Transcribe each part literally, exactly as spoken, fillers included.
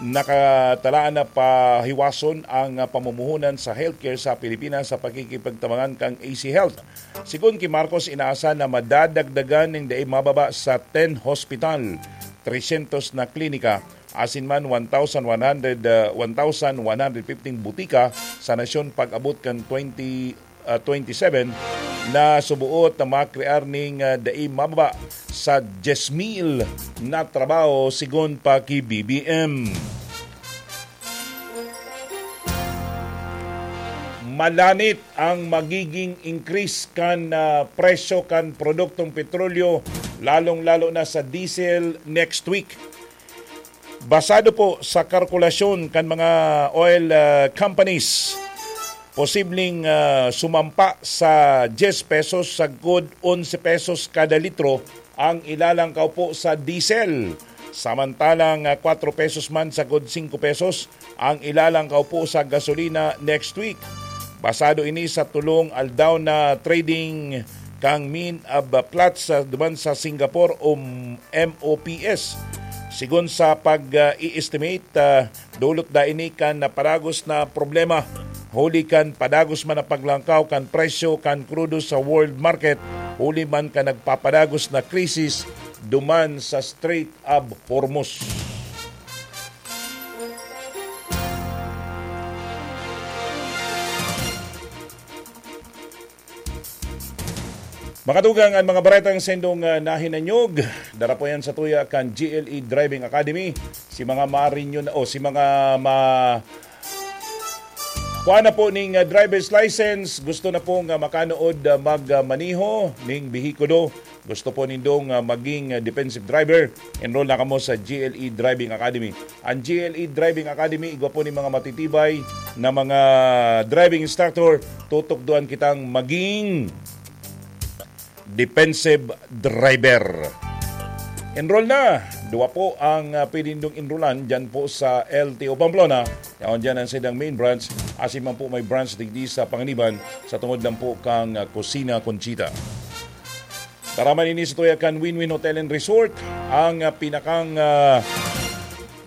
nakatalaan na pahiwason ang, ah, pamumuhunan sa healthcare sa Pilipinas sa pakikipagtabangan kan A C Health. Sigon ki Marcos, inaasahan na madadagdagan nin dai mababa sa ten hospital, trescientos na klinika, asin man one thousand one hundred, ah, one thousand one hundred fifteen butika sa nasyon pag-abot kan twenty, ah, twenty-seven, na subuot na makrear nin, ah, dai mababa sa diyes mil na trabaho, sigon pa ki B B M. Malanit ang magiging increase kan, ah, presyo kan produktong petrolyo, lalong-lalo na sa diesel next week. Basado po sa kalkulasyon kan mga oil, ah, companies, posibleng, ah, sumampa sa diyes pesos sagkod onse pesos kada litro ang ilalangkaw po sa diesel. Samantalang, ah, kwatro pesos man sagkod singko pesos ang ilalangkaw po sa gasolina next week. Basado ini sa tolong aldaw na trading kan Mines and Platts, ah, duman sa Singapore o M O P S. Sigon sa pag, ah, i-estimate, ah, dulot daa ini kan napadagos na problema, huli kan padagos man na paglangkaw kan presyo kan krudo sa world market, huli man kan nagpapadagos na krisis duman sa Strait of Hormuz. Mga tugang, an mga baretang saindong, ah, nahinanyog, dara po yan sa tuya kan G L E Driving Academy. Si mga marinyo na, o si mga ma-, kuha na po ning, ah, driver's license, gusto na pong, ah, makanood, ah, mag, ah, maneho ning behikulo. Gusto po nindong, ah, maging, ah, defensive driver? Enroll na kamo sa G L E Driving Academy. Ang G L E Driving Academy, igwa po ni mga matitibay na mga driving instructor, tutukdoan kitang maging defensive driver. Enroll na! Duwa po ang, ah, pwede nindong enrollan dyan po sa L T O Pamplona. Yaon dyan ang saindang main branch. Asin man po may branch digdi sa Panganiban sa tungod lang po kang, ah, Kusina Conchita. Taraman ini sa tuya kan Win-Win Hotel and Resort, ang, ah, pinakang, ah,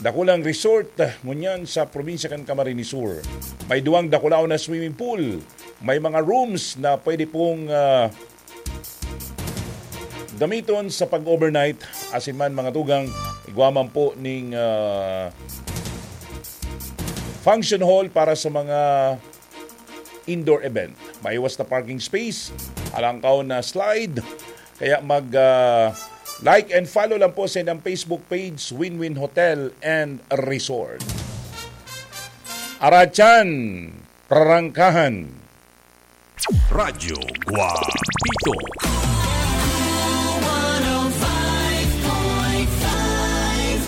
dakulang resort, ah, ngunyan sa probinsya kan Camarines Sur. May duwang dakulaon na swimming pool. May mga rooms na pwede pong, ah, gamiton sa pag-overnight. Asin man, mga tugang, igwa man po ning, ah, function hall para sa mga indoor event. Maiwas na parking space, alangkaw na slide. Kaya mag, ah, like and follow lang po sa inyong Facebook page, Win-Win Hotel and Resort. Aratsan, prarangkahan. Radyo Guapito.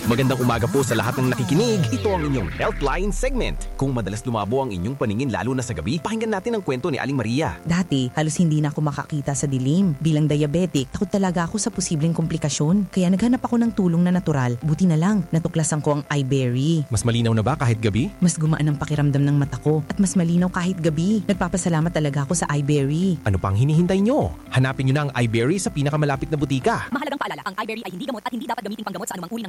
Magandang umaga po sa lahat ng nakikinig. Ito ang inyong Healthline segment. Kung madalas lumabo ang inyong paningin lalo na sa gabi, pakinggan natin ang kwento ni Aling Maria. Dati, halos hindi na ako makakita sa dilim. Bilang diabetic, takot talaga ako sa posibleng komplikasyon. Kaya naghanap ako ng tulong na natural. Buti na lang, natuklasan ko ang iBerry. Mas malinaw na ba kahit gabi? Mas gumaan ang pakiramdam ng mata ko at mas malinaw kahit gabi. Nagpapasalamat talaga ako sa iBerry. Ano pang hinihintay nyo? Hanapin nyo na ang iBerry sa pinakamalapit na butika. Mahalagang paalala, ang iBerry ay hindi gamot at hindi dapat gamiting panggamot sa anumang uri ng